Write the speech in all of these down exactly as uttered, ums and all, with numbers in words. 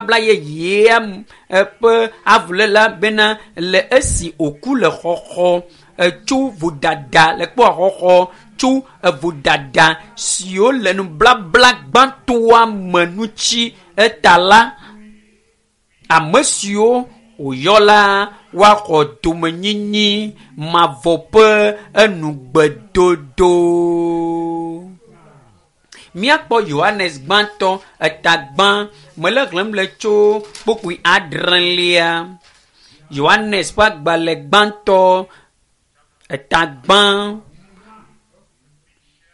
Nubabla yeyea ƒe avuléla bena le esi wòku le xɔxɔ tso vodada le kpɔ xɔxɔ tso vodada siwo le nublabla gbãtɔa me ŋuti eta la, ame siwo wòyɔ la woaxɔ domenyinyi mavɔ ƒe enugbedodo. Míakpɔ Yohanes gbãtɔ eta gbã mele xlẽm le tso kpukpui adrelia. Yohanes ƒe agbalẽ gbãtɔ eta gbã.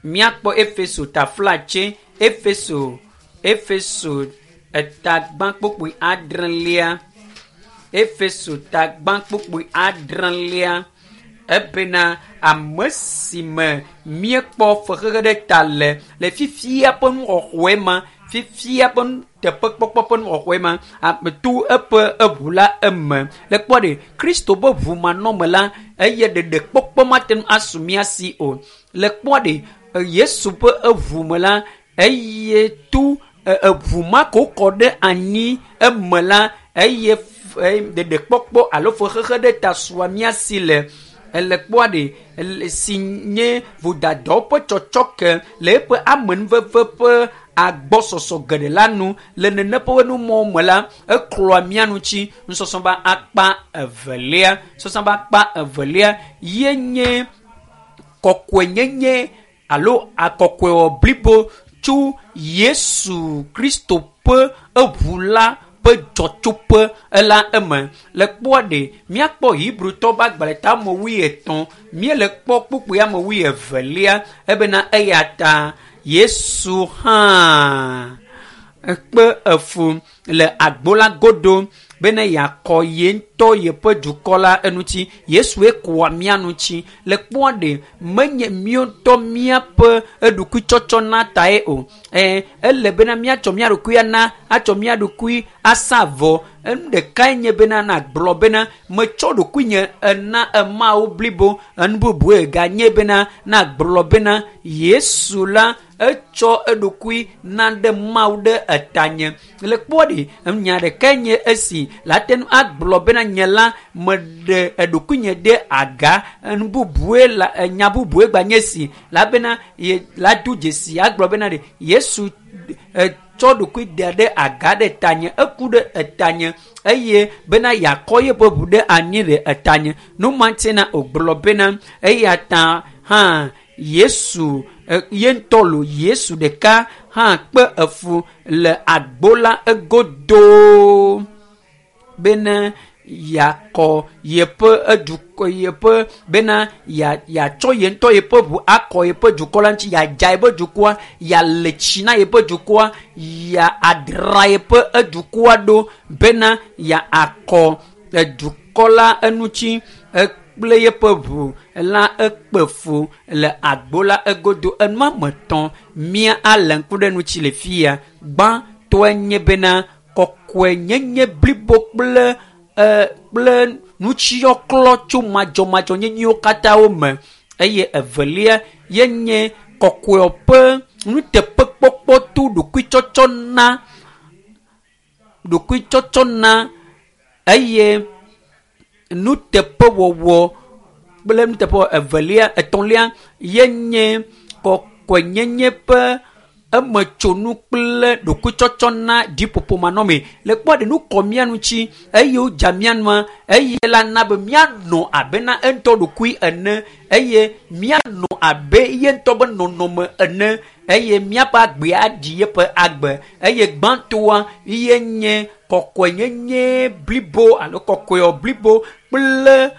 Míakpɔ Efeso taflatse Efeso Efeso eta gbã kpukpui adrelia. Efeso ta gbã kpukpui adrelia. Ebena ame si me míekpɔ fexexe ɖe ta le le fifia ƒe nuxɔxɔe ma, fifia ƒe nuteƒekpɔkpɔ ƒe nuxɔxɔe ma, ame to eƒe eʋu la eme. Le kpɔ ɖe Kristo ƒe ʋu manɔme la, eye ɖeɖekpɔkpɔ mate ŋu asu mía si o. Le kpɔ ɖe Yesu ƒe eʋu me la, eye to eʋu ma ko kɔ ɖe anyi eme la, eye ɖeɖekpɔkpɔ alo fexexe ɖe ta sua mía si le. Ele kpɔa ɖe si nye vodadawo ƒe tsɔtsɔke le eƒe amenuveve ƒe agbɔsɔsɔ geɖe la nu le nene ƒe numɔwo me la, eklɔa mía ŋuti. Nusɔsɔ be akpa evelia, nusɔsɔ be akpa evelia ye nye kɔkɔenyenye alo akɔkɔewɔ blibo tso Yesu Kristo ƒe eʋu la ƒe dzɔtsoƒe la eme. Le kpɔa ɖe míakpɔ Hebrewtɔwo ƒe agbalẽ ta ame wuietɔ̃, míele kpɔ kpukpui ame wuievelia ebena eya ta Yesu hã kpe efu le agbo la godo bene yeakɔ ye ŋutɔ yeƒe dukɔ la eŋuti. Yesue kɔa mía ŋuti. Le kpɔa ɖe menye míawo ŋutɔ míaƒe eɖokuitsɔtsɔ na tae o. Ɛ ele bena míatsɔ mía ɖokui ana, atsɔ mía ɖokui asa vɔ. Enu ɖekae nye bena nagblɔ bena metsɔ ɖokuinye ena emawo blibo. Enu bubue ganye bena nagblɔ bena Yesu la etsɔ eɖokui na ɖe Mawu ɖe etanye. Le kpɔ ɖe nya ɖekae nye esi la te ŋu agblɔ bena nye la meɖe eɖokuinye ɖe aga. Enu bubue la nya bubue gba nye esi la bena ye la do dzesi agblɔ bena ɖe Yesu tsɔ ɖokui da ɖe aga ɖe tanye, eku ɖe etanye eye bena yeakɔ yeƒe ʋu ɖe anyi ɖe etanye. Nu ma ŋuti na wògblɔ bena eya ta hã Yesu ye ŋutɔ lo Yesu ɖeka hã kpe efu le agbo la egodo bena yeakɔ yeƒe edukɔ yeƒe bena ya yatsɔ ye ŋutɔ yeƒe ʋu akɔ yeƒe dukɔ la ŋuti, yeadza yeƒe dukɔa, yeale tsi na yeƒe dukɔa, ya adra yeƒe edukɔa ɖo bena yeakɔ edukɔ la eŋuti kple yeƒe ʋu la ekpe fu le agbo la egodo. Enu ame etɔ̃ mía ale ŋku ɖe ŋuti le fia. Gbãtɔe nye bena kɔkɔenyenye blibo kple kple nutsiyɔklɔ tso madzɔmadzɔnyenyewo katã wo me. Eye evelia ye nye kɔkɔe ƒe nuteƒekpɔkpɔ to ɖokuitsɔtsɔ na ɖokuitsɔtsɔ na eye nuteƒewɔwɔ kple nuteƒewɔwɔ evelia etɔ̃lia ye nye kɔkɔenyenye ƒe emetsonu kple ɖokuitsɔtsɔ na dziƒoƒo manɔme. Le kpɔ ɖe nu kɔ mía ŋuti eye wodza mía nua eye la na be míanɔ abe na eŋutɔ ɖokui ene eye míanɔ abe ye ŋutɔ be nɔnɔme ene eye míaƒe agbe aɖi yeƒe agbe. Eye gbãtɔa ye nye kɔkɔenyenye blibo alo kɔkɔewɔ blibo kple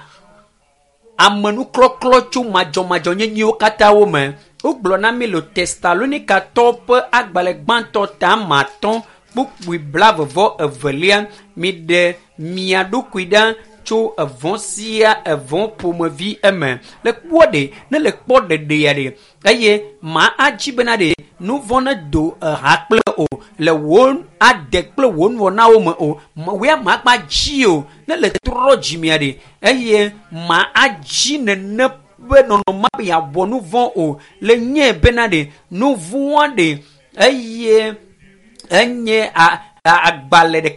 amenuklɔklɔ tso madzɔmadzɔnyenyewo katã wo me. Wogblɔ na mí le Tesalonikatɔwo ƒe agbalẽ gbãtɔ ta ame atɔ̃ kpukpui blaeve evelia miɖe mia ɖokui ɖa tso evɔ̃ sia evɔ̃ ƒomevi eme. Le kpɔ ɖe ne le kpɔ ɖeɖea ɖe eye ma adzi bena ɖe nu vɔ̃ ne do eha kple o le wò ade kple wò nuwɔnawo me o wòya ma gba dzi o ne le trɔ dzimea ɖe eye ma adzi nene ƒe nɔnɔme be yeawɔ nu vɔ̃ o le nye bena ɖe nu vɔ̃a ɖe eye enye agbalẽ ɖeka.